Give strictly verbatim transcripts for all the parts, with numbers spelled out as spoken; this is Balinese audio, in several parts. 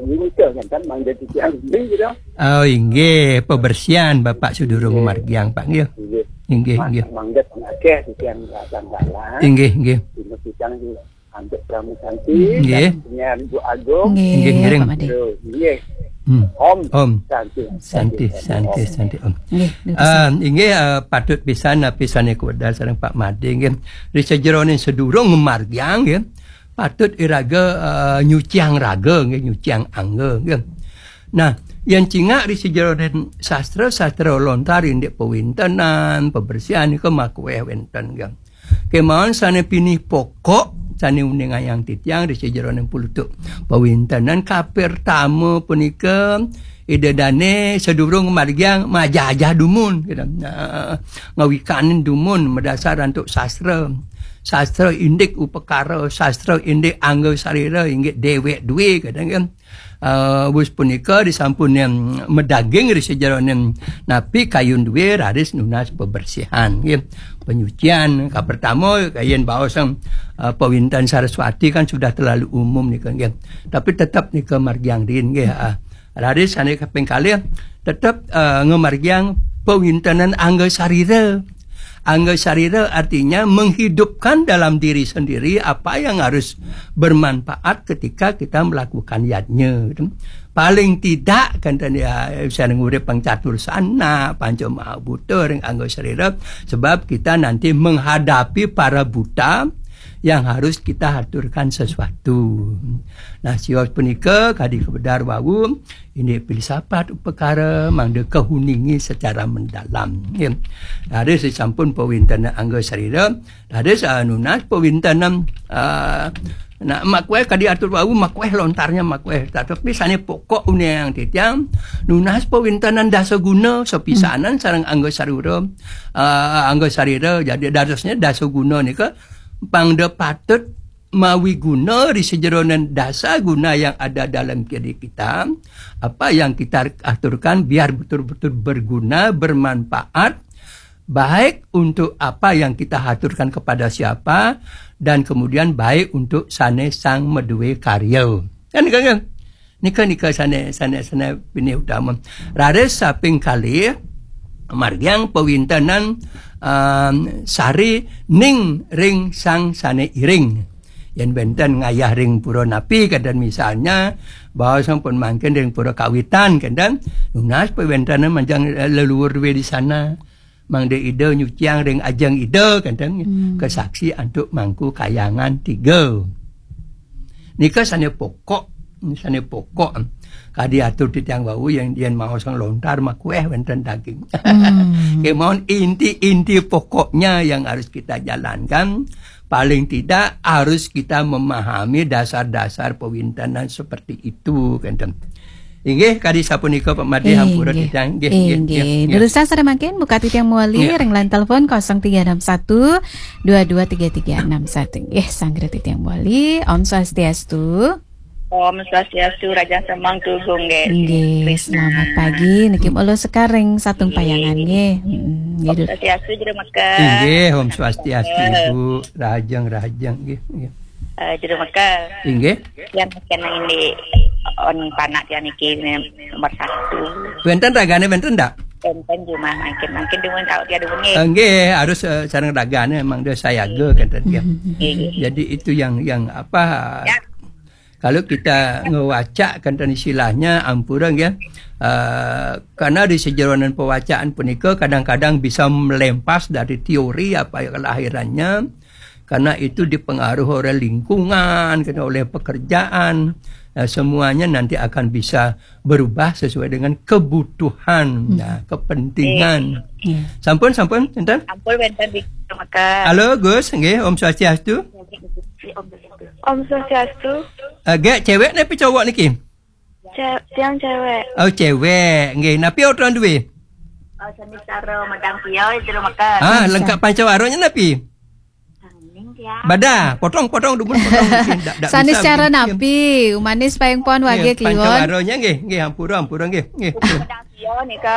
Ini ke kan, kan mangga titiang, ini gitu. Oh, inggih, pembersihan Bapak sedurung margiang, Pak, nggih. Inggih. Inggih, inggih. Mangga akeh titiang dalang-dalang. Inggih, inggih. Dina titiang di antuk Pramu Santi, inggih. Dan penyiar Ibu Agung. Inggih, ngiring. Pak Made. Terus, inggih. Hmm. Om. Om. Santi, Santi, Santi, Santi, Om. Inggih, terus. Ah, inggih, ah, patut pisan, ah, pisan kawedar sareng Pak Made, nggih. Ri sajeroning sedurung margiang, nggih. Patut iraga, eh, nyuciang raga, nggih, nyuciang angga, nggih. Nah, yen cingak ri sajeroning sastra-sastra lontar indik pawintenan, pembersihan nika makueh wenten, nggih. Kemawon sane pinih pokok, sane uningayang titiang ri sajeroning pulutuk pawintenan kapertama punika, Ida dane sedurung margiang majajah dumun, gitu. Nah, ngawikanin dumun madasar antuk sastra. Sastra indik upakara, sastra indik angga sarira, inggih dewek due, kadang kan. Eh, wus punika disampun yang medaging ri sajeroning napi kayun due raris nunas pembersihan, nggih. Penyucian, kapertama, kayen baos, eh, pawinten Saraswati kan sudah terlalu umum nika, nggih. Tapi tetap nika margiang rin, nggih, ah. Raris sane kaping kalih tetep, eh, ngamargiang pawintenan angga sarira. Angga sarira artinya menghidupkan dalam diri sendiri apa yang harus bermanfaat ketika kita melakukan yadnya, gitu. Paling tidak kan ya, bisa ngurip pang catur sana, panca maha buta ring angga sarira, sebab kita nanti menghadapi para buta yang harus kita haturkan sesuatu. Nah, sios punika kadi kawedar wau, indik filsafat upakara mangda kahuningi secara mendalam. Ya. Raris sampun pawintenan angga sarira, raris, ah, nunas pawintenan, ah, nah, makueh kadi atur wau, makueh lontarnya makueh. Tetapi sane pokok uningayang titiang, nunas pawintenan dasa guna sapisanan sareng angga sarira, ah, angga sarira. Jadi darasnya dasa guna nika pangda patut mawi guna di sejeronan dasa guna yang ada dalam diri kita. Apa yang kita aturkan biar betul-betul berguna, bermanfaat, baik untuk apa yang kita haturkan kepada siapa, dan kemudian baik untuk sane sang madue karya. Kan, kan, kan? Nika, nika sane, sane, sane pinih utama. Raris saping kalih, margiang pawintenan, um, sari ning ring sang sane iring. Yen wenten ngayah ring pura napi, kenten misalnya, bahwa sampun mangkin ring pura kawitan, kenten nunas pawintenan manjang, eh, leluhur due di sana. Mangda Ida nyuciang ring ajeng Ida, kenten, hmm, kasaksi antuk Mangku Kayangan tiga. Nika sane pokok, sane pokok. Kadi atur titiang wau yang yen maosang lontar makueh wenten daging. Hmm. Kemawon inti-inti pokoknya yang harus kita jalankan. Paling tidak harus kita memahami dasar-dasar pawintenan seperti itu, kenten. Inggih, kadi sapunika Pak Made, eh, hampura titiang. Inggih, inggih, inggih. Durusang sareng mangkin, buka titiang mawali, ring line telepon kosong tiga enam satu dua dua tiga tiga enam satu. Nggih, sanggra titiang mawali. Om Swastiastu. Om Swastiastu, Raja Semang Tugung, nggih. Nggih, selamat pagi. Niki mula sekar ring Satung Payangan, nggih. Mm, nggih, Om Swastiastu, Jero Mekar. Inggih, Om Swastiastu, Ibu. Rahajeng, rahajeng, nggih, nggih. Eh, Jero Mekar. Inggih. Yang kena ini on panak yang niki nomor satu. Wenten ragane wenten ndak? Wenten jumah mangkin, mangkin dumun tau dia dumun, nggih. Eh, nggih, harus, eh, sareng ragane memang dia sayaga, kenten, nggih. Nggih, nggih. Jadi itu yang, yang apa, ya. Kalau kita ngewacak kenten istilahnya, ampura, nggih. Eh, karena di sejeronan pewacaan punika kadang-kadang bisa melempas dari teori apa yang kelahirannya, karena itu dipengaruhi oleh lingkungan, kena oleh pekerjaan. Nah, semuanya nanti akan bisa berubah sesuai dengan kebutuhan, hmm, nah, kepentingan. Iya. Sampun, sampun, enten? Sampun, wenten di Mekar. Halo, Gus, nggih, Om Swastiastu. Om Swastiastu. Eh, gek cewek napi cowok niki? Ce-, tiang cewek. Oh, cewek. Nggih, napi aturang duwe? Oh, sami sareng Madang Pio, Jero Mekar. Ah, lengkap pancawaranya napi? Bada, potong-potong dumun, potong. Nggih, ndak, ndak bisa, secara nggih. Napi, umanis paling pon wage kliwon. Pancawaranya nggih, nggih, ampura, ampura nggih, nggih. Nika.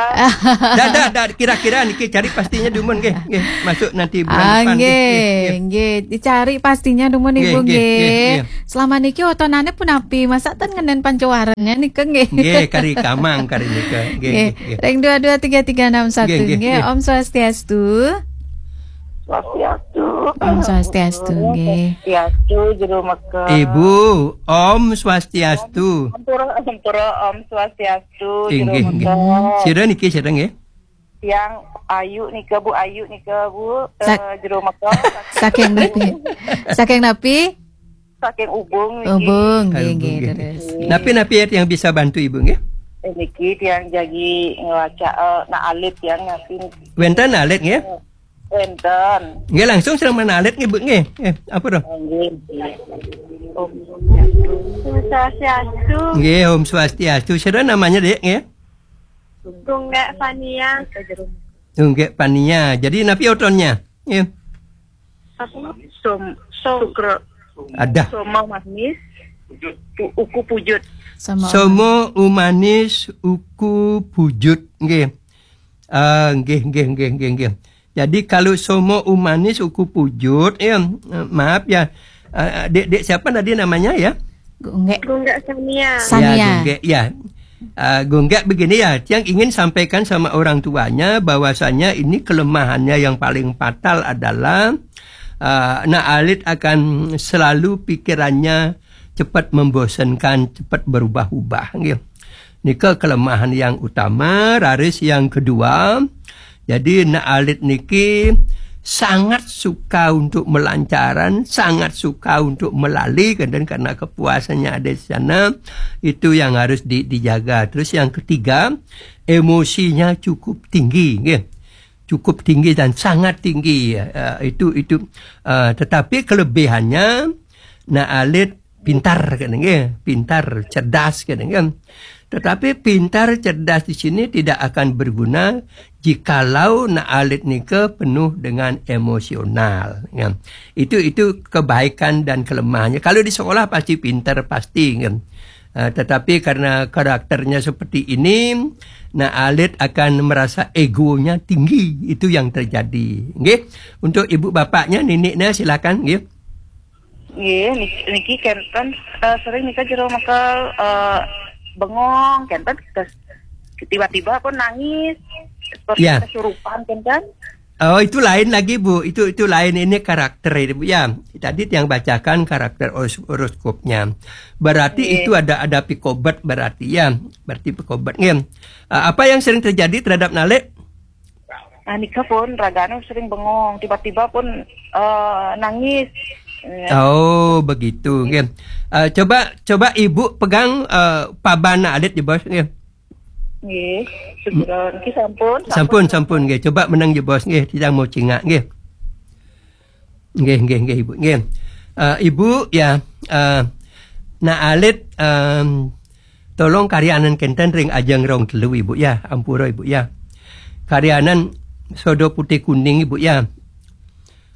Dah, dah, dah, kira-kira niki cari pastinya dumun nggih, nggih. Masuk nanti bulan depan nggih, nggih, nggih. Dicari pastinya dumun, nggih, Ibu nggih, nggih, nggih. Selama niki otonane punapi, masa ten ngenen pancawaranya nika nggih. Nggih, kari kamang kari nika. Nggih, nggih, nggih. Ring dua dua tiga tiga enam satu nggih, nggih, nggih. Om Swastiastu. Swastiastu. Om Swastiastu, nggih. Swastiastu, Jero Mekar. Ibu, Om Swastiastu. Ampura, ampura, Om Swastiastu, Jero Mekar. Inggih, inggih. Sira niki, sira nggih? Yang Ayu nika, Bu, Ayu nika, Bu, eh, Jero Mekar. Saking napi? Saking napi? Saking Ubung niki. Ubung, nggih, nggih, terus. Napi-napi yang bisa bantu Ibu nggih? Eh, niki tiang jagi ngelaca, eh, nak alit tiang napi. Wenten alit nggih? Wenten. Nggih, langsung sareng menawa alit nggih, Bu, nggih. Nggih, apa to? Nggih, nggih. Om Swastiastu. Nggih, Om Swastiastu. Sira namanya, Dik, nggih? Gunggek Fania. Gunggek Fania. Jadi napi otonnya? Nggih. Apa? Som, som, sukro. Ada. Somo manis. Pu-, uku pujut. Somo umanis, uku pujut. Nggih. Ah, nggih, nggih, nggih, nggih, nggih. Jadi kalau somo umanis uku pujut, ya, eh, maaf ya. Eh, dek, dek siapa tadi namanya ya? Gunggek. Gunggek Sania. Ya, Sania. Gunggek, ya. Eh, Gunggek begini ya, yang ingin sampaikan sama orang tuanya bahwasanya ini kelemahannya yang paling fatal adalah, eh, nak alit akan selalu pikirannya cepat membosankan, cepat berubah-ubah. Nggih. Nika kelemahan yang utama, raris yang kedua. Jadi nak alit niki sangat suka untuk melancaran, sangat suka untuk melali, kan, dan karena kepuasannya ada di sana, itu yang harus di-, dijaga. Terus yang ketiga, emosinya cukup tinggi, nggih. Cukup tinggi dan sangat tinggi, ya. Eh, itu, itu, eh, tetapi kelebihannya, nak alit pintar, kan, nggih, pintar, cerdas, kan, nggih. Tetapi pintar, cerdas di sini tidak akan berguna jikalau nak alit nika penuh dengan emosional, ya. Itu, itu kebaikan dan kelemahannya. Kalau di sekolah pasti pintar, pasti, ya. Eh, tetapi karena karakternya seperti ini, nak alit akan merasa egonya tinggi. Itu yang terjadi. Nggih. Untuk ibu bapaknya, neneknya silakan, nggih. Nggih, nik-, niki kenten, eh, sering nika Jero Mekar, eh, bengong, kenten kes-, tiba-tiba pun nangis, seperti kesurupan, kenten. Oh, itu lain lagi, Bu. Itu, itu lain, ini karakter ini, Bu, ya. Tadi yang bacakan karakter horos-, horoskopnya. Berarti itu ada, ada pikobet berarti, ya. Berarti pikobet, nggih. Eh, apa yang sering terjadi terhadap Nalik? Ah, nika pun ragane sering bengong, tiba-tiba pun, eh, nangis. Ya. Oh, begitu, nggih. Eh, coba, coba Ibu pegang, eh, paban alit, ya, Bos, nggih. Nggih, segera. Niki sampun, sampun, sampun, nggih. Coba menang, ya, Bos, nggih. Tidak mau cingak, nggih. Nggih, nggih, nggih, Ibu, nggih. Eh, Ibu, ya, eh, nak alit, em, tolong karyanan kenten ring ajeng rong telu, Ibu, ya. Ampura, Ibu, ya. Karyanan sodo putih kuning, Ibu, ya.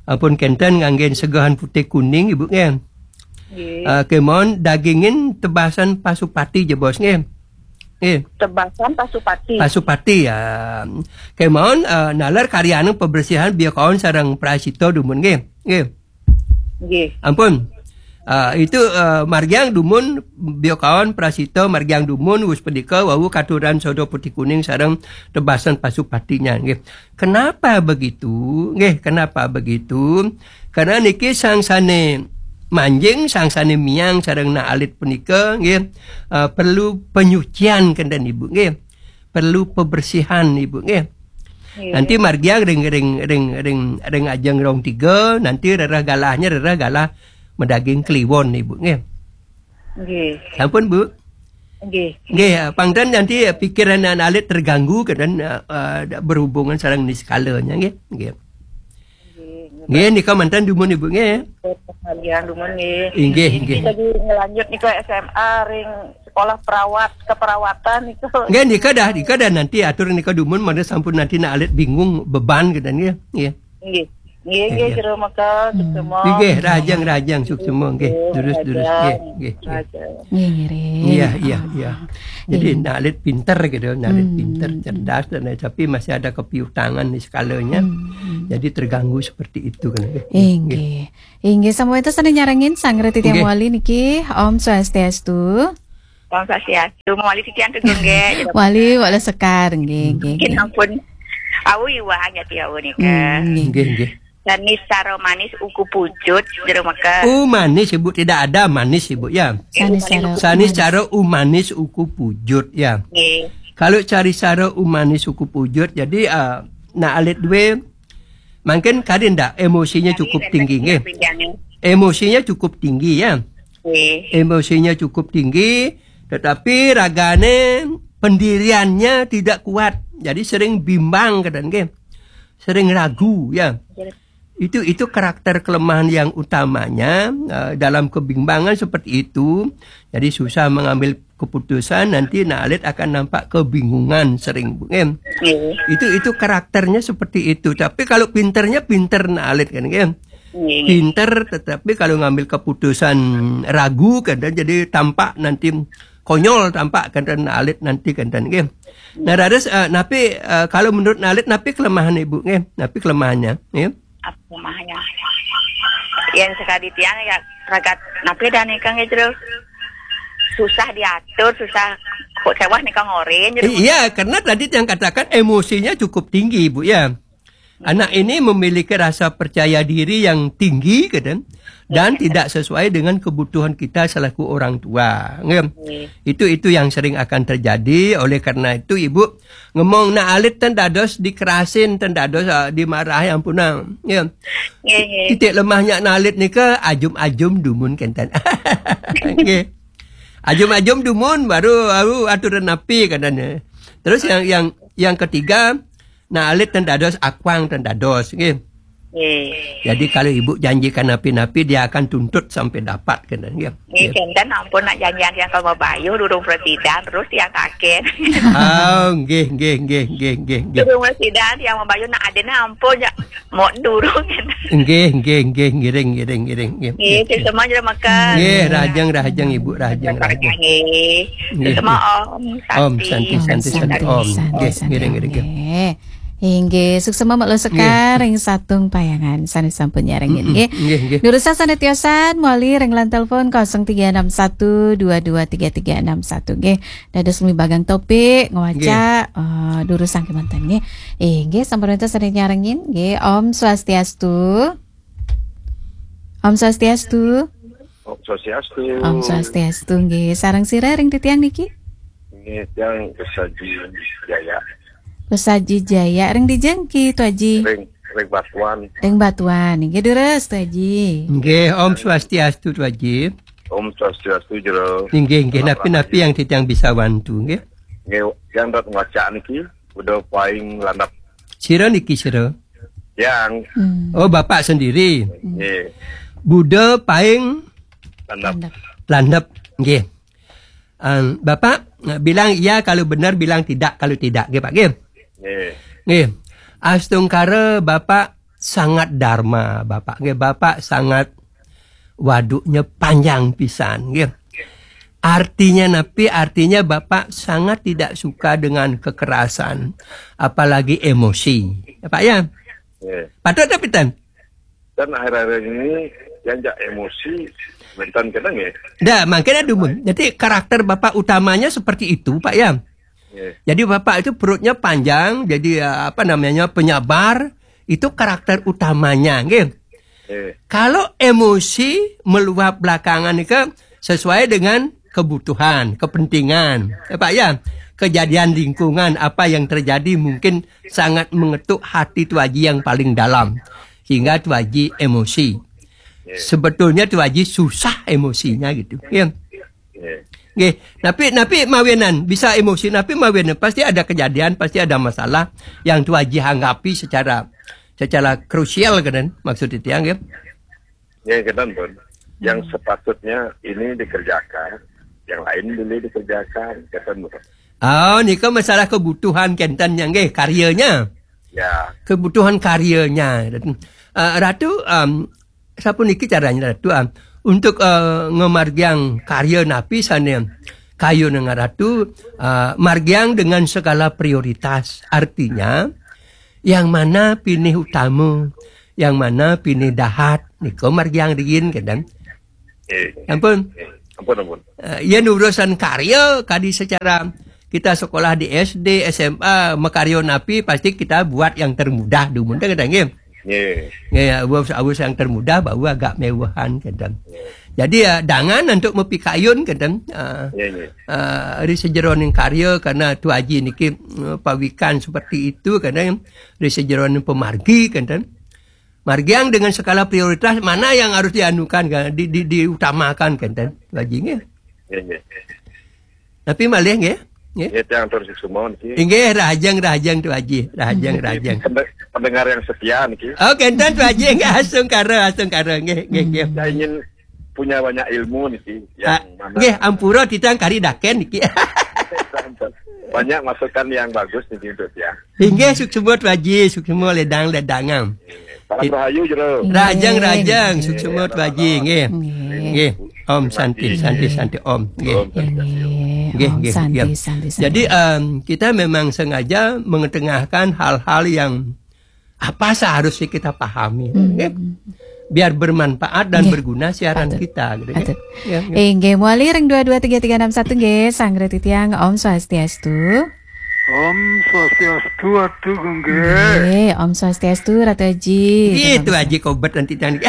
Ampun kenten nganggen segehan putih kuning, Ibu, nggih. Nggih. Eh, kemon dagingin tebasan pasupati, ya, Bos, nggih. Nggih. Tebasan pasupati. Pasupati, ya. Kemon, eh, naler karyanan pembersihan biakaon sareng prasita dumun, nggih. Nggih. Nggih. Ampun. Ah, itu, eh, margiang dumun, biakaon prasita margiang dumun, wus punika wau katuran sodo putih kuning sareng tebasan pasupatinya, nggih. Kenapa begitu? Nggih, kenapa begitu? Karena niki sang sane manjing, sang sane miang sareng nak alit punika, nggih, eh, perlu penyucian kenten, Ibu, nggih. Perlu pembersihan, Ibu, nggih. Nggih. Nanti margiang ring, ring, ring, ring, ring ajeng rong tiga, nanti rereh galahnya rereh galah medaging kliwon, Ibu, nggih. Nggih. Sampun, Bu? Nggih. Nggih, pang ten nanti pikiran anak alit terganggu, kan, eh, eh, berhubungan sareng niskalanya, nggih. Nggih. Nggih, nika manten dumun, Ibu, nggih. Nggih, dumun, nggih. Inggih, inggih. Lagi ngelanjut nika S M A ring sekolah perawat, keperawatan itu. Nggih, nika dah, nika dah nanti atur nika dumun, mangda sampun nanti nak alit bingung beban gitu, nggih. Nggih. Nggih. Nggih, nggih, jero meka, hmm, semua. Nggih, rahajeng, rahajeng, suksma, nggih. Durus, durus, nggih, nggih, nggih. Rahajeng. Nggih, ngiring. Iya, iya, iya. Jadi, nggih. Nak Alit pinter gitu, nak Alit pinter, hmm, cerdas, dan lain, tapi masih ada kepiutangan di skalanya. Hmm, hmm. Jadi, terganggu seperti itu, kan, nggih. Inggih. Inggih, sampun wénten sané nyarengin, sanggra titiang, nggih, wali niki. Om Swastiastu. Om Swastiastu. Wali titiang tuh, nggih. Wali, wali sekar, nggih, nggih, nggih, nggih. Ampun. Awu iwang ya, tiawu nika. Hmm, nggih. Nggih, nggih. Sanis saro manis uku pujut, jero meka. Oh, manis, Ibu. Tidak ada manis, Ibu, ya. Sanis saro, sanis saro umanis uku pujut, ya. Nggih. Kalau cari saro umanis uku pujut, jadi, eh, nak Alit duwe, mungkin kali ndak emosinya cukup tinggi, nggih. Emosinya cukup tinggi, ya. Nggih. Emosinya cukup tinggi, tetapi ragane pendiriannya tidak kuat. Jadi sering bimbang, kadang, nggih. Sering ragu, ya. Nggih. Itu, itu karakter kelemahan yang utamanya, eh, dalam kebimbangan seperti itu. Jadi susah mengambil keputusan, nanti nak Alit akan nampak kebingungan sering, Bu, nggih. Nggih. Itu, itu karakternya seperti itu. Tapi kalau pinternya pinter nak Alit, kan, nggih. Nggih. Pinter, tetapi kalau ngambil keputusan ragu, kan, jadi tampak nanti konyol, tampak, kan, nak Alit nanti, kan, nggih. Nah, dados, eh, napi, eh, kalau menurut nak Alit, napi kelemahan Ibu, nggih? Napi kelemahannya, nggih? Apa kelemahannya? Yang sekali tiang ya, ragat napi dah nika, nggih, jero. Susah diatur, susah kok sewah nika ngorin, jero. Iya, karena tadi yang katakan emosinya cukup tinggi, Bu, ya. Anak ini memiliki rasa percaya diri yang tinggi, kan, dan tidak sesuai dengan kebutuhan kita selaku orang tua. Nggih. Nggih. Itu, itu yang sering akan terjadi. Oleh karena itu, Ibu ngomong nak Alit ten dados dikerasin, ten dados, ah, dimarahi, ampun, ah. Ya. Nggih, nggih. Titik lemahnya nak Alit nika ajum-ajum dumun kenten. Nggih. Ajum-ajum dumun baru, baru aturan napi katanya. Terus yang, yang, yang ketiga, nak Alit ten dados, akuang ten dados, nggih. Nggih. Jadi kalau Ibu janjikan napi-napi, dia akan tuntut sampai dapat, kenten, nggih. Nggih, kenten, ampun, nak janjian yang kalau bayuh durung presidan, terus yang kaken. Oh, nggih, nggih, nggih, nggih, nggih, nggih. Durung presidan, yang mau bayuh nak adene ampun, ya, mau durung. Nggih, nggih, nggih, ngiring, ngiring, ngiring, nggih. Nggih, nggih, nggih. Semua jero makan. Nggih, rahajeng, rahajeng, Ibu, rahajeng, rahajeng. Nggih, nggih. Semua, nggih. Om, om, santi, santi, santi, santi, santi, om. Santi, nggih, santi, ngiring, ngiring, nggih. Nggih. Inggih, suksma Mak Lo Sekar, nggih, ring Satung Payangan, sané sampun nyarengin, mm-mm, nggih. Nggih, nggih. Durus sané tiosan, mawali ring line telepon kosong tiga enam satu dua dua tiga tiga enam satu, nggih. Dados mibagang topik, ngwaca, nggih, eh, durus saking manten, nggih. Eh, nggih, sampun wénten sané nyarengin, nggih. Om Swastiastu. Om Swastiastu. Om Swastiastu. Om Swastiastu, nggih. Sareng sira ring titiang niki? Nggih, tiang Pesaji Jaya. Pesaji Jaya, ring dijeng ki, Tu Aji? Ring, ring Batuan. Ring Batuan, nggih, durus, Tu Aji. Nggih, Om Swastiastu, Tu Aji. Om Swastiastu, jero. Nggih, nggih, napi-napi yang titiang bisa wantu, nggih. Nggih, yang dat ngwaca niki, udah paling landap. Sira niki, sira? Yang. Hmm. Oh, Bapak sendiri. Nggih. Buda paing landap. Landap. Landap. Nggih. Em, Bapak, eh, bilang iya kalau benar, bilang tidak kalau tidak, nggih, Pak, nggih. Nggih. Nggih. Astungkara Bapak sangat dharma, Bapak, nggih. Bapak sangat waduknya panjang pisan, nggih. Artinya napi? Artinya Bapak sangat tidak suka dengan kekerasan, apalagi emosi. Ya, Pak, ya? Nggih. Patut tapi ten? Dan akhir-akhir ini yang jak emosi, mentan kena, nggih. Dah, makanya dumun. Jadi karakter Bapak utamanya seperti itu, Pak, ya? Nggih. Jadi Bapak itu perutnya panjang, jadi, eh, apa namanya, penyabar, itu karakter utamanya, nggih. Nggih. Kalau emosi meluap belakangan itu sesuai dengan kebutuhan, kepentingan, ya, Pak, ya. Kejadian lingkungan apa yang terjadi mungkin sangat mengetuk hati Tu Aji yang paling dalam, sehingga Tu Aji emosi. Nggih. Sebetulnya Tu Aji susah emosinya gitu, ya. Nggih. Nggih, tapi, tapi mawinan bisa emosi, tapi mawinan pasti ada kejadian, pasti ada masalah yang Tu Aji hanggapi secara, secara krusial, kan, maksud titiang, nggih. Nggih, kenten, pun. Yang sepatutnya ini dikerjakan, yang lain dulu dikerjakan, kenten, pun. Oh, nika masalah kebutuhan kenten, nggih, karyanya. Ya. Kebutuhan karyanya. Eh, Ratu, em, sapuniki caranya Ratu, em, untuk, eh, ngamargiang karya napi sané kayun ring Ratu, eh, margiang dengan segala prioritas. Artinya, yang mana pinih utama, yang mana pinih dahat, nika margiang riin, kénten. Nggih. Ampun. Nggih. Ampun, ampun. Eh, yén urusan karya, kadi secara kita sekolah di S D, S M A, makarya napi, pasti kita buat yang termudah dumun, kan, nggih? Nggih. Nggih, ya, awus, awus yang termudah, baru agak méwéhan, kénten. Nggih. Jadi, ya, dangan untuk mapikayun, kénten. Eh, Nggih, nggih. eh, ri sajeroning karya, karena Tu Aji niki, eh, pawikan seperti itu, kénten, ri sajeroning pamargi, kénten. Margiang dengan skala prioritas mana yang harus dianukan, kan? Di, di, diutamakan, kénten, Tu Aji, nggih. Nggih, nggih. Tapi malih, nggih? Nggih. Nggih, tiang atur suksma niki. Inggih, rahajeng, rahajeng, Tu Aji. Rahajeng, rahajeng. Pendeng-, pendengar yang setia niki. Oh, kénten, Tu Aji, nggih, astungkara, astungkara, nggih, nggih, nggih. Saya ingin punya banyak ilmu niki, yang Ah, mana nggih, ampura titiang kari dakén niki. Banyak masukan yang bagus niki untuk tiang. Inggih, suksma Tu Aji, suksma ledang-ledangang. Salam rahayu, Jero. Rahajeng, Inggih, rahajeng, inggih. Suksma Tu Aji, nggih. Inggih. Nggih. Om Santi, Santi, Santi, Om. Nggih. Om Santi, Santi, Om. Nggih, Om nggih, Santi, nggih. Santi, Santi. Jadi, em, kita memang sengaja mengetengahkan hal-hal yang apa seharusnya kita pahami, Hmm. nggih. Biar bermanfaat dan Nggih. berguna siaran Patut. kita, gitu, nggih. Patut. Ya, nggih. Inggih, malih ring dua dua tiga tiga enam satu, nggih, sareng titiang, Om Swastiastu. Om Swastiastu, Atu Gung, nggih. Nggih, Om Swastiastu, Ratu Aji. Nggih, Ratu Tu Aji. Aji kobet nanti tang.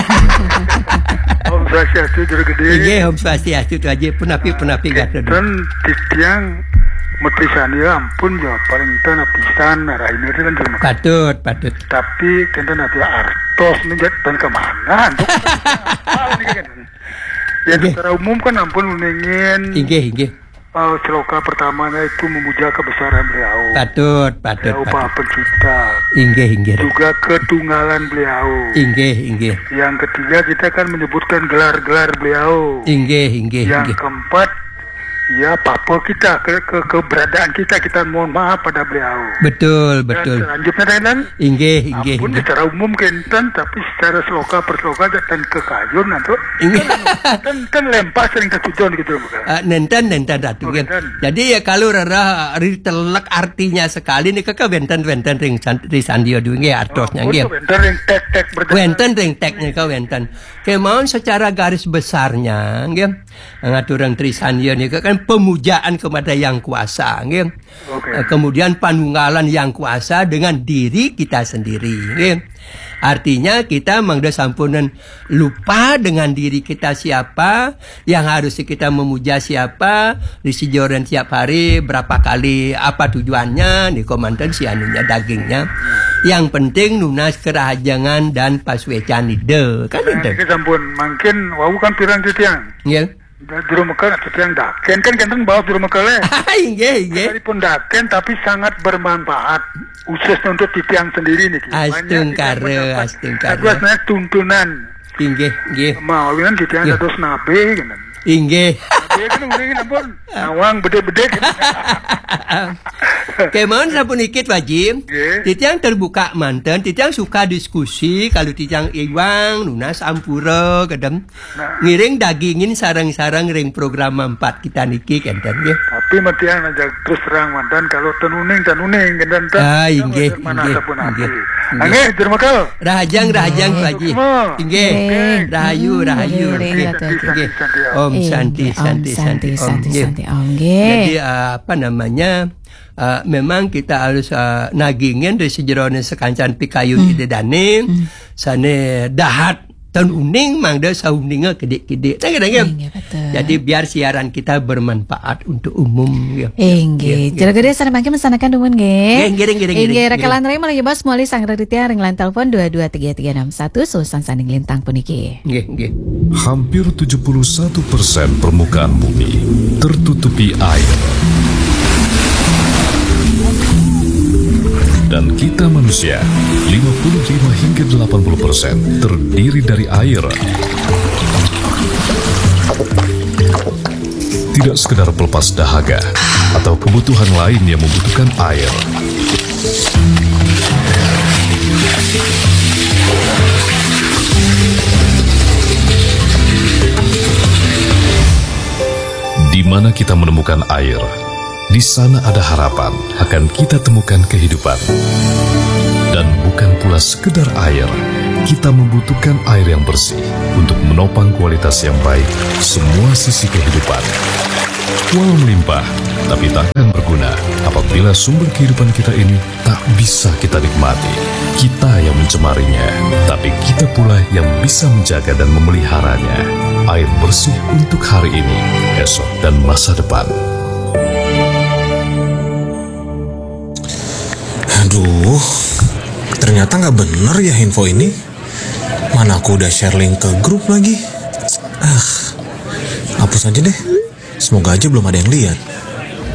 Om Swastiastu, Jero Gedé. Nggih, Om Swastiastu, Tu Aji. Punapi, punapi, Ratu. Ten titiang matrisandya ampun ya, paling ten pisan, rahayu ten, Jero. Patut, patut. Tapi kénten ati artos niki ten kemana, Cuk? Apa niki kan? Ya, Nggih. secara umum kan ampun uningin. Inggih, inggih. Eh, sloka pertamanya itu memuja kebesaran beliau. Patut, patut, Beliau patut. Maha Pencipta. Inggih, inggih. Juga ketunggalan beliau. Inggih, inggih. Yang ketiga, kita kan menyebutkan gelar-gelar beliau. Inggih, inggih, Yang inggih. keempat, ya, papa kita, ke, ke, keberadaan kita, kita mohon maaf pada beliau. Betul, Dan betul. selanjutnya, dan Inggih, inggih, ampun, inggih. secara umum kénten, tapi secara sloka per sloka dan kekayun, Atu. Inggih. Kan, kan lempas sering ketujuan gitu, bukan? Ah, nénten, nénten, Ratu, Oh, nggih. nénten. Jadi, ya, kalau rereh ritelek artinya sekali nika, ka wénten, wénten ring san-, ring sandya duwé, nggih, artosnya, Ampun, nggih. wénten ring tek-tek berjalan. Wénten ring tek nika wénten. Kémaon secara garis besarnya, nggih, ngaturang trisandya nika kan pemujaan kepada Yang Kuasa, nggih. Oke. Eh, kemudian panunggalan Yang Kuasa dengan diri kita sendiri, nggih. Artinya kita mangda sampunan lupa dengan diri kita siapa, yang harus kita memuja siapa, ri sajeroning tiap hari, berapa kali, apa tujuannya, nika manten si anunya, dagingnya. Yang penting nunas kerahajengan dan pasuécan Ida. Kan Nah, itu. niki sampun, mangkin wau kan pirang titiang? Nggih. Da-, Jero Mekel, titiang dakén kan kénten baos Jero Mekel, eh. Inggih, inggih. Sekalipun dakén, tapi sangat bermanfaat. Khusus untuk titiang sendiri niki. Banyak Astungkara, titiang mendapat. astungkara. Dados naik tuntunan. Inggih, inggih. Mawinan titiang Nggih. dados nabe, gitu. Inggih. Nabe kan mendingin ampun. Nawang bedik-bedik. Kémaon sapuniki, Pak Haji. Nggih. Titiang terbuka manten, titiang suka diskusi, kalau titiang iwang, nunas ampura, kedem. Nah. Ngiring dagingin sareng-sareng ring program empat kita niki, kénten, nggih. Tapi matiang aja terus terang manten, kalau ten uning, ten uning, kénten, ten. Ah, inggih, Mana inggih, sapunapi. inggih, inggih. Nggih, Jero Mekel. Rahajeng, rahajeng, Nggih. Pak Haji. Semua. Inggih. Nggih. Rahayu, Hmm, rahayu. nggih, Nggih. Ratu Haji. Nggih. Santi, Santi, Om. Inggih, Santi, Om Santi, Santi, Santi, Santi, Om. Santi, Nggih. Om. Nggih. Jadi, eh, apa namanya, eh, memang kita harus, eh, nagingin ri sajeroning sakancan pikayun Hmm. Ida Dané, Hmm. sané dahat ten uning mangda sauninga kidik-kidik. Nah, gitu, gitu. Inggih, betul. Jadi, biar siaran kita bermanfaat untuk umum, ya. Inggih. Ya, ya. Jero Gedé sané mangkin masanakan dumun, nggih. Nggih, nggih, nggih, nggih, Inggih, nggih. Rakalan ring malih bos, malih sareng titiang ring line telepon dua dua tiga tiga enam satu, susunan saking lintang puniki. Nggih, nggih. Hampir tujuh puluh satu persen permukaan bumi tertutupi air. Dan kita manusia, lima puluh lima hingga delapan puluh persen terdiri dari air. Tidak sekedar pelepas dahaga atau kebutuhan lain yang membutuhkan air. Di mana kita menemukan air, di sana ada harapan akan kita temukan kehidupan. Dan bukan pula sekedar air, kita membutuhkan air yang bersih untuk menopang kualitas yang baik semua sisi kehidupan. Walau melimpah, tapi tak akan berguna apabila sumber kehidupan kita ini tak bisa kita nikmati. Kita yang mencemarinya, tapi kita pula yang bisa menjaga dan memeliharanya. Air bersih untuk hari ini, esok, dan masa depan. Aduh, ternyata nggak bener ya info ini. Mana aku udah share link ke grup lagi. Ah, hapus aja deh. Semoga aja belum ada yang lihat.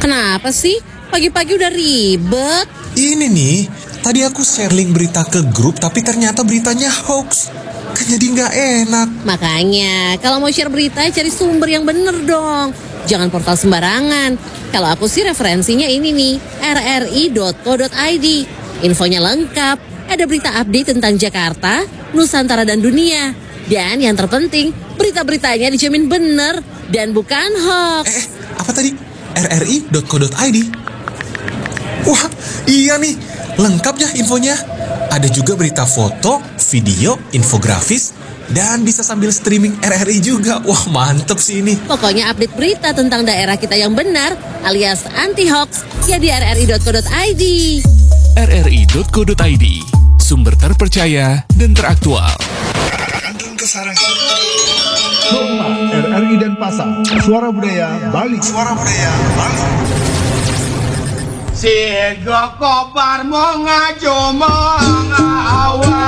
Kenapa sih? Pagi-pagi udah ribet. Ini nih, tadi aku share link berita ke grup tapi ternyata beritanya hoax. Kan jadi nggak enak. Makanya, kalau mau share berita, cari sumber yang bener dong. Jangan portal sembarangan. Kalau aku sih referensinya ini nih, rri.co.id. Infonya lengkap. Ada berita update tentang Jakarta, Nusantara dan dunia. Dan yang terpenting, berita-beritanya dijamin bener dan bukan hoax. Eh, apa tadi? rri.co.id. Wah, iya nih. Lengkap ya infonya. Ada juga berita foto, video, infografis, dan bisa sambil streaming RRI juga. Wah, mantep sih ini. Pokoknya update berita tentang daerah kita yang benar alias anti hoax ya di rri.co.id. rri.co.id, sumber terpercaya dan teraktual. Kandung Kesarangan. Rumah RRI Denpasar, Suara Budaya Bali. Suara Budaya Bali. Sego kobar monga jomong awa.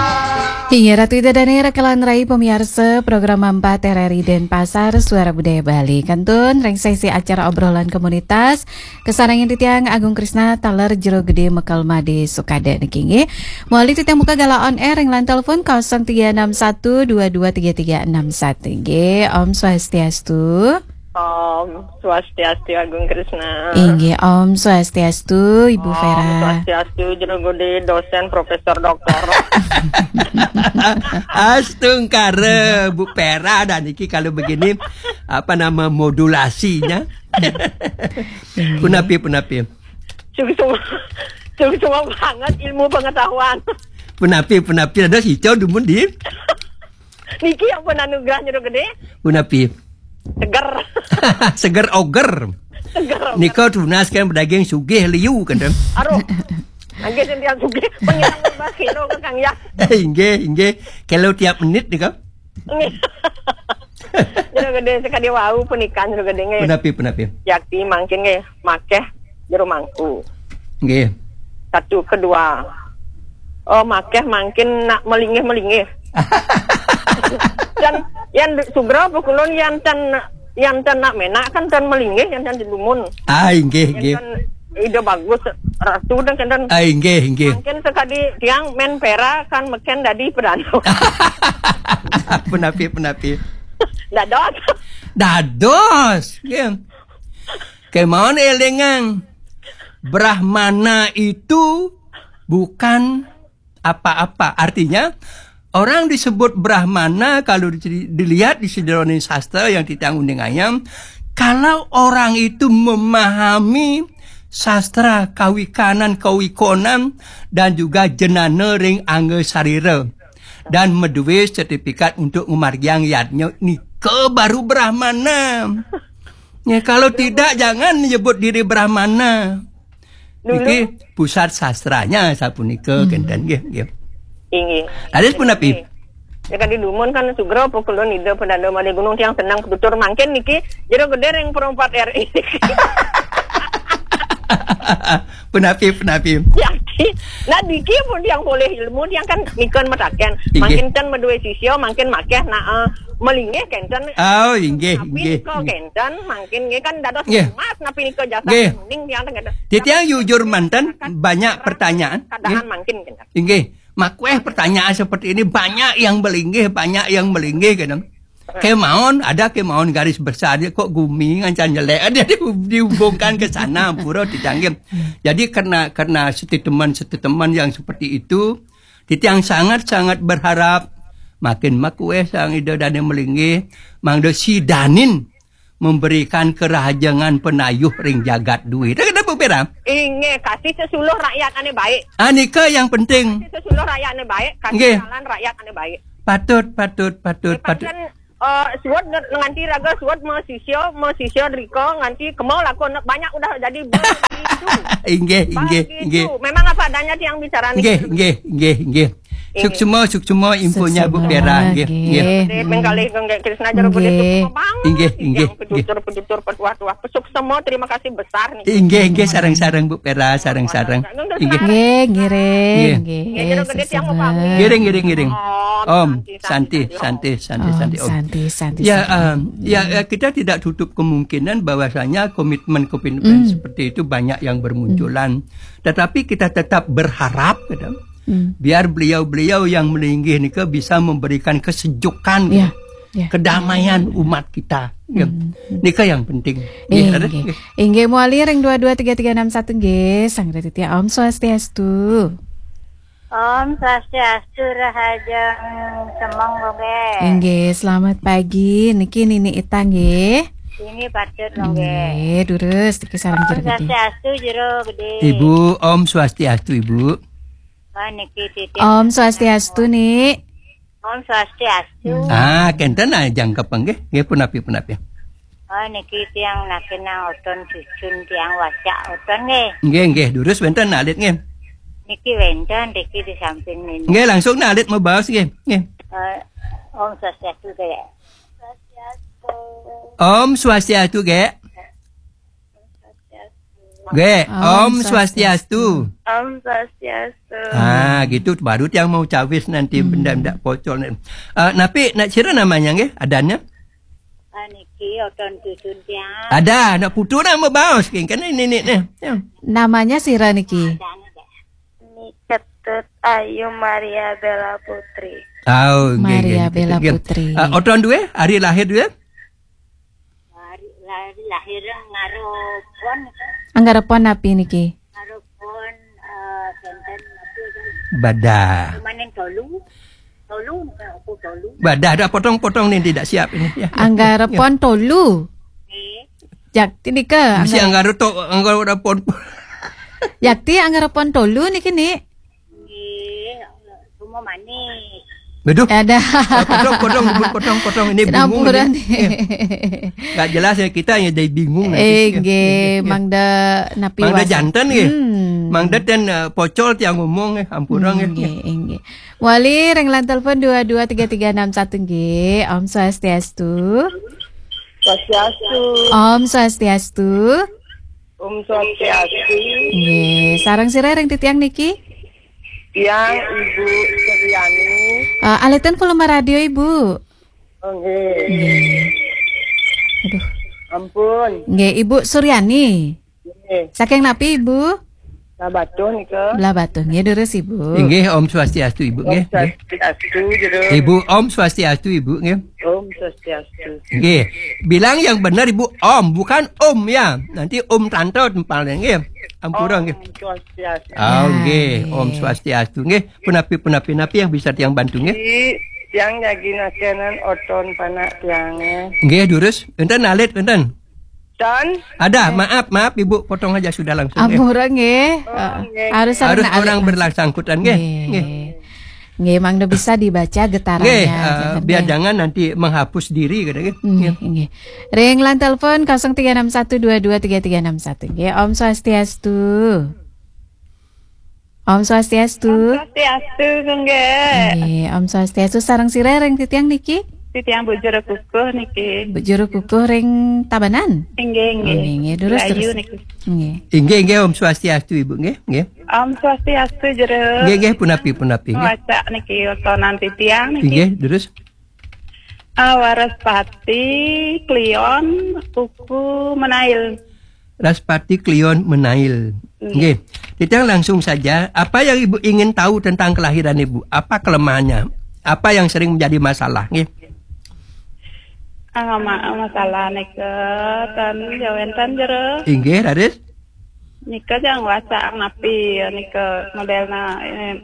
Inggih Ratu Ida Dane rekelan rai pemiarsa program empat RRI Denpasar Suara Budaya Bali. Kantun ring sesi acara obrolan komunitas, kasarengin titiang Agung Krisna taler Jero Gede Mekel Made Sukade niki nggih. Mawali titiang buka galah on air ring line telepon kosong tiga enam satu dua dua tiga tiga enam satu nggih. Om Swastiastu. Om Swastiastu Agung Krisna. Inggih, Om Swastiastu Ibu Om Vera. Swastiastu Jero Gede, dosen, profesor, doktor. Astungkara Bu Vera, dan niki kalau begini apa nama modulasinya? Punapi, punapi. Sungsung sungsung banget ilmu pengetahuan. Punapi, punapi, ada si Cau dumun di. Niki ampun anugerah Jero Gede. Punapi. Seger. Seger oger. Seger. Nika tunas kan pedaging sugih liu kan. Aduh. Angge sing tiang sugih pengilang lima kilo ke Kang ya. Inggih, inggih. Kalau tiap menit nika. Nggih. Jero Gede sekali wau punika Jero Gede nggih. Punapi, punapi. Yakti mangkin nggih makeh jero mangku. Nggih. Satu kedua. Oh, makeh mangkin nak melinggih-melinggih. Dan yang sugra apa kulon yang ten yang ten nak menak kan ten melinggih yang ten di dumun. Ah, inggih, inggih. Kan ide bagus ratu dan kan Ah, inggih, inggih. Mungkin sekali tiang men pera kan meken dadi pedano. Punapi, punapi. Dados. Dados. Nggih. Kemawon elingang. Brahmana itu bukan apa-apa. Artinya, orang disebut Brahmana kalau di- dilihat di sejeroning sastra yang titiang uning ayam, kalau orang itu memahami sastra kawikanan, kawikonan, dan juga jenana ring angga sarira, dan madué sertifikat untuk ngamargiang yadnya, nika baru Brahmana. Ya, kalau tidak, jangan menyebut diri Brahmana. Niki pusat sastranya sapunika, kenten nggih, nggih. Inggih. Raris punapi? Ya kan di dumun kan sugra apa kulon ida pedano malih gunung tiang senang petutur mangkin niki Jero Gede ring perempat R I. Punapi, punapi? Nah, niki pun tiang polih ilmu tiang kan nika mataken. Inggih. Mangkin ten madué sisya, mangkin makeh nak eh, melinggih kenten. Oh, inggih, Tapi inggih. nika kenten mangkin nggih kan dados Nggih. Emas napi nika jasa Nggih. kuning tiang kenten. Titiang jujur manten banyak pertanyaan. Keadaan Nggih. mangkin kenten. Inggih, makueh pertanyaan seperti ini banyak yang melinggih, banyak yang melinggih kadang. Kemawon, ada kemawon garis besar dia kok gumi ngancan jelek dia di- dihubungkan ke sana pura ditanggim. Jadi karena karena statement-statement yang seperti itu, titiang sangat-sangat berharap makin makueh sang ida dane melinggih, mangda sidanin memberikan kerahajengan penayuh ring jagat dué. Dah kena Bu Pera? Inggih, kasih sesuluh rakyat ané baik. Ah, nika yang penting. Kasih sesuluh rakyat ané baik, kasih Nggih. Jalan rakyat ané baik. Patut, patut, patut, Nggih, patut. Pancen, eh, suud nge-, nganti raga suud masisia, masisia drika nganti kema lakon banyak udah jadi begitu. Inggih, inggih, Begitu. Inggih. Memang apa adanya tiang bicara nih. Inggih, inggih, inggih, inggih. Inggih. Suksma, suksma infonya Bu Suksma, Pera, inggih, nggih. Inggih. Gede, penggalih, gede, Krisna Jero Gede, Nggih. Suksma banget. Inggih, inggih, Yang pejutur, pejutur, petuah-tuah, pesuksma, terima kasih besar nih. Inggih, inggih, sareng-sareng Bu Pera, sareng-sareng. Inggih. Nggih, ngiring, Nggih. Nggih, Jero Gede tiang mau pamit. Ngiring, ngiring, ngiring. Om, Om, Santi, Santi, Santi, Santi, Santi, Om. Santi, Santi, Ya, Santi. em, ya, ya, kita tidak tutup kemungkinan bahwasanya komitmen-komitmen Hmm. seperti itu banyak yang bermunculan. Hmm. Tetapi kita tetap berharap, gitu. Hmm. Biar beliau-beliau yang melinggih nika bisa memberikan kesejukan, Ya, gitu. Ya. Kedamaian umat kita. Ya. Hmm, hmm. Nika yang penting. Nggih, Inggih. Raden? Nggih. Inggih, mawali ring dua dua tiga tiga enam satu nggih, Sang Raditya. Om Swastiastu. Om Swastiastu, rahajeng semeng, nggih. Inggih, selamat pagi. Niki Nini Ita nggih. Ini patut, nggih. Nggih, durus niki sareng Om Jero Gede. Swastiastu, Jero Gede. Ibu, Om Swastiastu, Ibu. Oh, niki titip. Om Swastiastu, Ni. Om Swastiastu. Ah, kenten ah jangkep nggih. Nggih, punapi, punapi. Oh, niki tiang nakenang oton cucun tiang wacak oton nggih. Nggih, nggih, durus wenten alit nggih. Niki wenten niki di samping niki. Nggih, langsung alit mabaos nggih. Nggih. Eh, Om Swastiastu, Gek. Om Swastiastu, Gek. Gek, Om Om Swastiastu. Swastiastu. Om Swastiastu. Ah, gitu baru tiang mau cawis nanti Hmm. benda-benda pocol ni. Ah, napi, nak sira namanya nggih, adannya? Ah, niki oton cucun tiang. Ada, nak putu nak mabaos nggih, kan ini ni ni. Ya. Namanya sira niki? Ada, ada. Ni Ketut Ayu Maria Bella Putri. Oh, nggih, Maria nggih, Bella nggih. Putri. Ah, oton duwe, hari lahir duwe? Hari, hari lahir ngarepon. Anggarepon napi niki? Ngarepon, eh, kenten napi tu? Badah. Manen tolu. Tolu, aku tolu. Badah dah potong-potong ni tidak siap ini. Ya, ya, Anggarepon ya. Tolu. Nggih. Jakti nika, Mesti anggar- anggareto, anggarepon. Jakti anggarepon tolu niki, Ni. Nggih, semua manis. Beduh. Ada. Ah, potong, potong, ribut, potong, potong. Ini bingung Sinampura ini. Ni. Eh, nggak jelas ya, kita yang jadi bingung nanti. Eh, Ya, nggih, ya, ya. Mangda napi Mangda wasan. Janten nggih. Hmm. Mangda ten, eh, pocol tiang ngomong nggih, ampura nggih. Nggih, nggih. Wali ring line telepon dua dua tiga tiga enam satu nggih. Om Swastiastu. Swastiastu. Om Swastiastu. Om Swastiastu. Nggih, sareng sira ring titiang niki? Tiang Ibu Suryani. Eh, aliten volume radio, Ibu. Oh, nggih. Nggih. Aduh. Ampun. Nggih, Ibu Suryani. Nggih. Saking napi, Ibu? Blahbatuh nika. Blahbatuh, nggih, durus, Ibu. Inggih, Om Swastiastu, Ibu, Om nggih. Swastiastu, Jero. Ibu, Om Swastiastu, Ibu, nggih. Om Swastiastu. Nggih. Bilang yang benar, Ibu, Om, bukan Om, ya. Nanti Om Tante tempalnya, nggih. Ampura, nggih. Om Swastiastu. Oh, nggih. Nggih. Om Swastiastu, nggih. Punapi, punapi, napi yang bisa tiang bantu, nggih? Di, tiang jagi nakenan oton panak tiangnya. Nggih, durus. Enten alit, enten. Don? Ada, maaf, maaf, Ibu, potong aja sudah langsung, nggih. Ampura, nggih. Oh, Eh, nggih. Harus Harus sarana alit orang langsung. Berlangsangkutan, nggih. Nggih. Nggih. Nggih, mangda bisa dibaca getarannya, Nggih, eh, enten, biar nggih. Jangan nanti menghapus diri, kata, nggih. Nggih, Nggih. Nggih. Ring line telepon kosong tiga enam satu dua dua tiga tiga enam satu. Nggih, Om Swastiastu. Om Swastiastu. Om Swastiastu, nggih. Nggih, Om Swastiastu. Sareng sira ring titiang niki? Titiang Bu Jero Kukuh niki. Bu Jero Kukuh ring Tabanan? Inggih, inggih. Nggih, nggih. Durus, Ayu terus. Niki. Nggih. Inggih, inggih, Om Swastiastu, Ibu, nggih, nggih. Om Swastiastu, Jero. Nggih, nggih, punapi, punapi, nggih. Wacak niki, otonan titiang niki. Inggih, durus. Ah, Waraspati, Kliwon, Kuku, Menail. Raspati Kliwon Menail. Iya. Nggih. Titiang langsung saja, apa yang Ibu ingin tahu tentang kelahiran Ibu? Apa kelemahannya? Apa yang sering menjadi masalah? Nggih. Ah, ma-, masalah nika ten ya wenten, Jero. Inggih, raris. Nika jang wacak napi ya nika modelna, eh,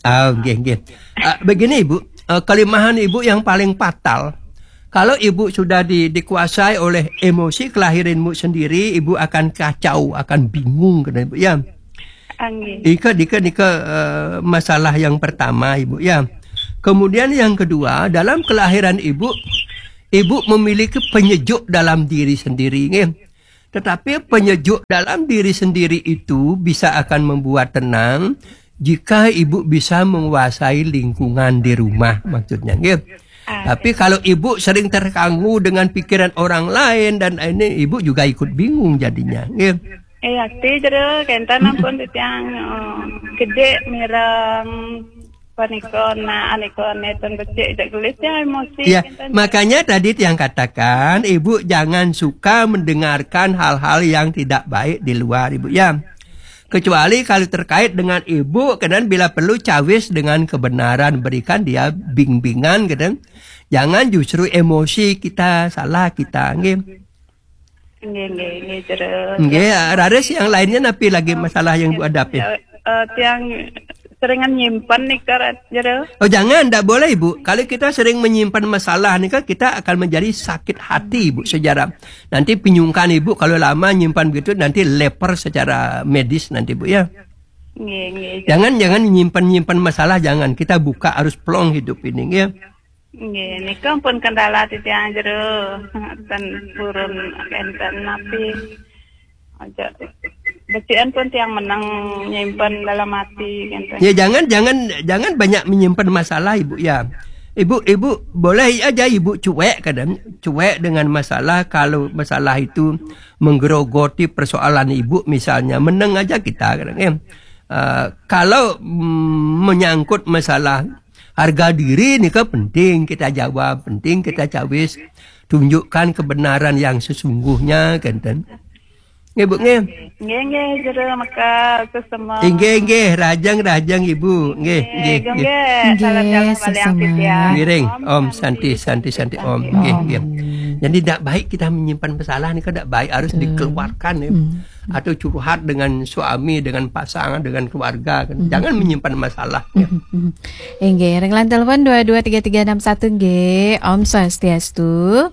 Ah, nggih, nggih. Ah, begini, Ibu, eh, kelemahan Ibu yang paling fatal, Kalau ibu sudah di, dikuasai oleh emosi kelahiranmu sendiri, ibu akan kacau, akan bingung, kata ibu, ya. Anggih. Ika, ika, ika, eh, masalah yang pertama, ibu, ya. Kemudian yang kedua, dalam kelahiran ibu, ibu memiliki penyejuk dalam diri sendiri, nggih. Tetapi penyejuk dalam diri sendiri itu bisa akan membuat tenang jika ibu bisa menguasai lingkungan di rumah, maksudnya, nggih. Ah, tapi kalau ibu sering terganggu dengan pikiran orang lain dan ini, ibu juga ikut bingung jadinya, nggih. Eh, ati jero kenten ampun titiang, eh, gede mireng panika na anika neton becik cek gelis ya emosi. Ya, kenten. Makanya tadi tiang katakan, ibu jangan suka mendengarkan hal-hal yang tidak baik di luar, ibu, ya. Kecuali kalau terkait dengan ibu, kadang bila perlu cawis dengan kebenaran, berikan dia bimbingan, kadang. Jangan justru emosi kita, salah kita, nggih. Nggih, nggih, nggih, jero. Nggih, raris yang lainnya napi lagi masalah yang ibu hadapi? Eh, eh, tiang seringan nyimpen nih, Kak, jero. Oh, jangan, ndak boleh, Ibu. Kalau kita sering menyimpan masalah nih, kan kita akan menjadi sakit hati, Ibu, sejarah. Nanti pinyungkan, Ibu, kalau lama nyimpan begitu, nanti leper secara medis nanti, Bu, ya. Nggih, nggih. Jangan, jangan nyimpan-nyimpan masalah, jangan. Kita buka arus plong hidup ini, ya. Nggih, nika pun kendala titiang jero, ten purun enten napi. Aja. Becikan pun tiang menang nyimpen dalam hati, gitu. Ya, jangan, jangan, jangan banyak menyimpan masalah, Ibu, ya. Ibu, Ibu boleh aja Ibu cuek kadang, cuek dengan masalah kalau masalah itu menggerogoti persoalan Ibu misalnya, menang aja kita kadang, ya. Eh, kalau, mm, menyangkut masalah harga diri nika penting kita jawab, penting kita cawis, tunjukkan kebenaran yang sesungguhnya, kenten. Nggih, Bu, nggih. Nggih, nggih, jero maka sesama. Inggih, inggih, rahajeng, rahajeng, Ibu. Nggih, nggih, nggih. Nggih, salam jalan baliang sesama. Titiang. Ngiring, Om, Santi, Santi, Santi, Om. Nggih, nggih. Jadi tidak baik kita menyimpan masalah nih, kan tidak baik, harus dikeluarkan, ya. Atau curhat dengan suami, dengan pasangan, dengan keluarga, kan. Jangan menyimpan masalah, ya. Inggih, ring line telepon dua dua tiga tiga enam satu, nggih. Om Swastiastu.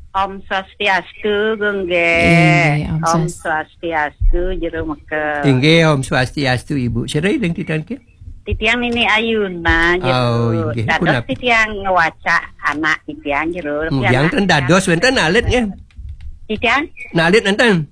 Om Swastiastu, Gung, nggih. Inggih, Om Om Swast- Swastiastu, jero meke. Inggih, Om Swastiastu, Ibu. Sira ring titiang, nggih? Titiang Nini Ayuna, jero. Oh, inggih. Dados punapa? Titiang ngwaca anak titiang, jero. Titiang ten dados wenten alit, nggih. Titiang? Nah, alit enten.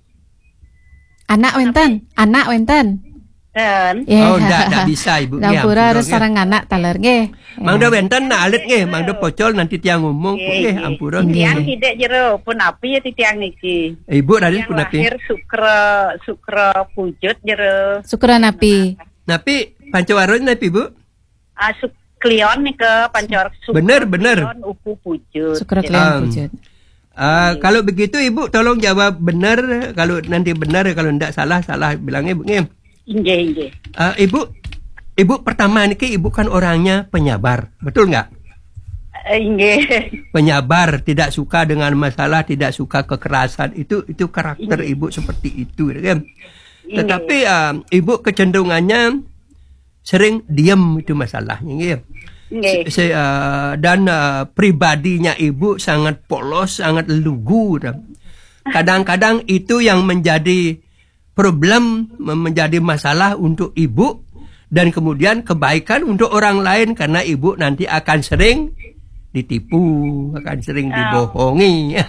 Anak wenten, anak wenten. Ten. Oh, ndak, ndak bisa, Ibu. Nggih, ampura, ampura, harus nggih. Sareng anak taler, nggih. Mangda wenten nak alit, nggih. Mangda pocol nanti tiang ngomong, nggih, ampura, nggih. Tiang tidak jero, punapa ya titiang niki? Ibu raris tiang punapa? Lahir Sukra, Sukra Pujut jero. Sukra napi? Napi, Pancawaran napi, Bu? Ah, Suk-, Kliwon nika, Pancor Sukra. Bener, bener. Kliwon, Upu Pujut. Sukra Kliwon Pujut. Ah, kalau begitu Ibu tolong jawab benar, kalau nanti benar, kalau ndak salah, salah bilangnya, Bu, nggih. Inggih, inggih. Ah, Ibu, Ibu pertama niki Ibu kan orangnya penyabar, betul nggak? Eh, inggih. Penyabar, tidak suka dengan masalah, tidak suka kekerasan. Itu, itu karakter Ibu seperti itu, ya kan? Inggih. Tetapi, ah, Ibu kecenderungannya sering diem itu masalahnya, nggih. Nggih. Se-, se-, eh, dan, eh, pribadinya Ibu sangat polos, sangat lugu, dah. Kadang-kadang itu yang menjadi problem, me-, menjadi masalah untuk Ibu, dan kemudian kebaikan untuk orang lain, karena Ibu nanti akan sering ditipu, akan sering dibohongi.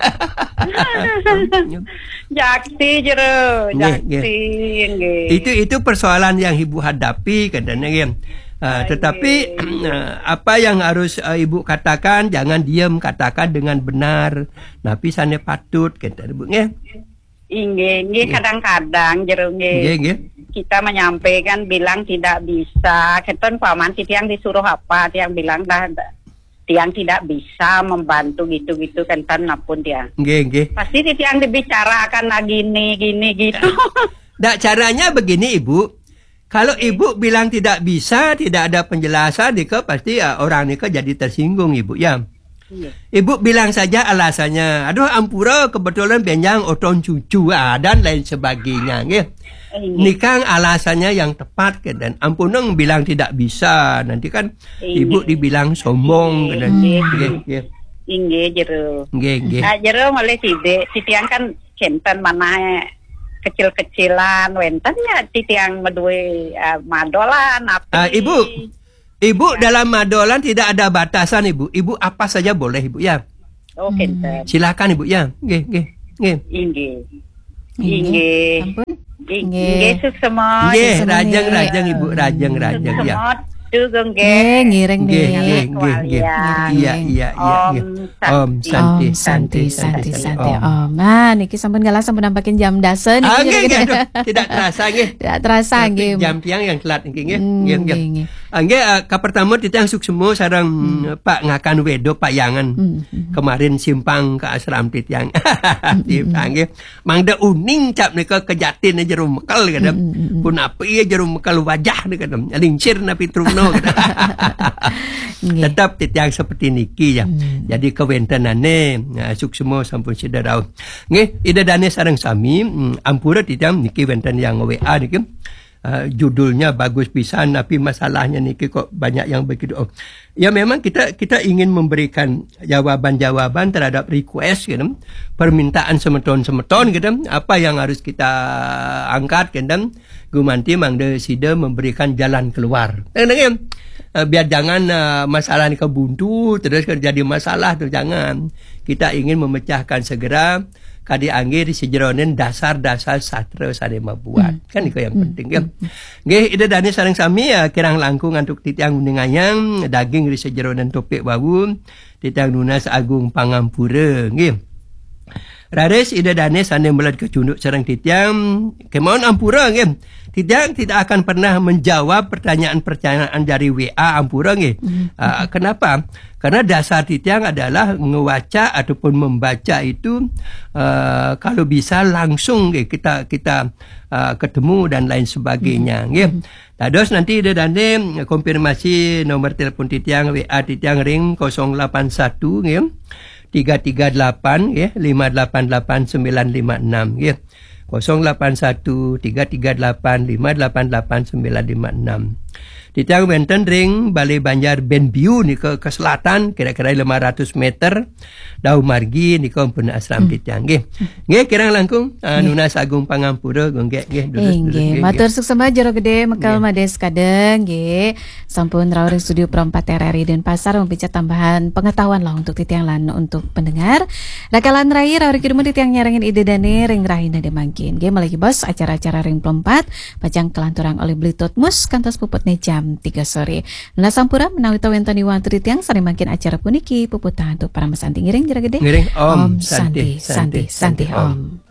Jakti jero, nggih, nggih. Jakti, nggih. Itu, itu persoalan yang Ibu hadapi, katanya, nggih. Ah, tetapi, nggih. Eh, apa yang harus, eh, Ibu katakan, jangan diam, katakan dengan benar. Napi sane patut, kata Ibu, nggih. Inggih, nggih, kadang-kadang jero, nggih. Nggih, nggih. Kita menyampaikan bilang tidak bisa. Kenten paman titiang disuruh apa, tiang bilang dah, dah, tiang tidak bisa membantu gitu-gitu, kenten napun tiang. Nggih, nggih. Pasti titiang dibicarakan lah gini, gini, gitu. Dak, caranya begini, Ibu. Kalau Ibu bilang tidak bisa, tidak ada penjelasan, nika pasti, ah, orang nika jadi tersinggung, Ibu, ya. Iya. Ibu bilang saja alasannya, "Aduh, ampura, kebetulan benjang oton cucu, ah, dan lain sebagainya," nggih. Iya. Nikang alasannya yang tepat, ke, dan ampuneng bilang tidak bisa, nanti kan Ibu dibilang sombong, ke, dan, iya, iya. Inggih, jero. Nggih, nggih. Nah, jero malih sithik, titiang kan kinten manah kecil-kecilan, wénten ya titiang madué, eh, madolan, api. Ah, Ibu, Ibu, dalam madolan tidak ada batasan, Ibu. Ibu apa saja boleh, Ibu, ya. Oh, kinten. Silakan, Ibu, ya. Nggih, nggih, nggih. Inggih. Inggih. Inggih. Ampun. Ing-, Nggih. Inggih, suksma. Nggih, suksma rajeng, nggih. Rajeng, Ibu, rajeng, rajeng, ya. Suksma, Dugong, nggih. Nggih, ngiring, nggih, nggih. Nggih, nggih, nggih. Kewalian. Iya, iya, iya, Om iya. Santi. Om Santi, Om Santi, Santi, Santi, Santi, Santi, Om. Om. Nah, niki sampun galah, sampun nampakin jam dasa niki, Ah, nggih, nggih, aduh, tidak terasa, nggih. Tidak terasa, Tapi nggih. Jam tiang yang telat niki, nggih. Hmm, Nggih, nggih. Nggih, nggih. Ah, nggih, ah, kapertama titiang suksma sareng, Hmm. Pak Ngakan Wedo Payangan. Hmm, hmm. Kemarin simpang ke asram titiang. Hmm, hmm. Simpang, nggih. Mangda uning cap nika kejatin jero mekel, kadang. Mm, mm, mm. Punapi jero mekel wajah nika, kadang. Lingsir napi truna, kadang. Nggih. Tetap titiang seperti niki, ya. Mm. Jadi kawéntenane, nah, suksma sampun sida rauh. Nggih, Ida Dane sareng sami, mm, ampura titiang niki wénten yang W A niki. Eh, judulnya bagus pisan, tapi masalahnya niki kok banyak yang begitu. Oh. Ya, memang kita, kita ingin memberikan jawaban-jawaban terhadap request, gitu. Permintaan semeton-semeton, gitu. Apa yang harus kita angkat, gitu. Gumanti mangda sida memberikan jalan keluar. Kadang-kadang, eh, biar jangan, eh, masalah ni kebuntu, terus jadi masalah tu, jangan. Kita ingin memecahkan segera, kadi anggé ri sajeroning dasar-dasar sastra sané mabuat. Hmm. Kan iku yang Hmm. penting, ya. Hmm. Nggih, Ida Dane sareng sami, ya, kirang langkung antuk titiang nguningayang daging ri sajeroning topik wau, titiang nunas agung pangampura, nggih. Raris Ida Dane sané meled kacunduk sareng titiang, kemawon ampura, nggih. Titiang tidak akan pernah menjawab pertanyaan-pertanyaan dari W A, ampura, nggih. Hmm. Ah, kenapa? Karena dasar titiang adalah ngewaca ataupun membaca itu, eh, kalau bisa langsung, nggih, kita, kita, eh, ketemu dan lain sebagainya, Hmm. nggih. Hmm. Dados nanti Ida Dane konfirmasi nomor telepon titiang, W A titiang ring kosong lapan satu, nggih. Tiga tiga delapan, nggih, lima delapan delapan sembilan lima enam, nggih. Kosong lapan satu tiga tiga delapan lima delapan delapan sembilan lima enam. Titiang wénten ring Balé Banjar Benbiu nika ke selatan, kira-kira lima ratus meter. Dauh margi nika pun asram Hmm. titiang, nggih. Nggih, kirang langkung, ah, Nggih. nunas agung pangampura, nggih, nggih, durus, durus, Inggih, nggih, matur nggih. Suksema Jero Gedé Mekel Nggih. Madé sekadang, nggih. Sampun rauh ring studio Pro empat R R I Denpasar, memberikan tambahan pengetahuan lah untuk titiang lan untuk pendengar. Rakalan rai, rauh ring kidung titiang nyarengin Ida Dane ring rahina mangkin. Nggih, malih bos acara-acara ring Pro empat, pacang kalanturang olih Beli Totmus kantos puputne jam tiga sore. Nunas ampura menawi ta wénten iwang titiang sané mangkin acara puniki puputang antuk parama santi, ngiring Jero Gedé. Ngiring, Om Om Santi, Santi, Santi, Santi, Santi, Santi, Om. Om.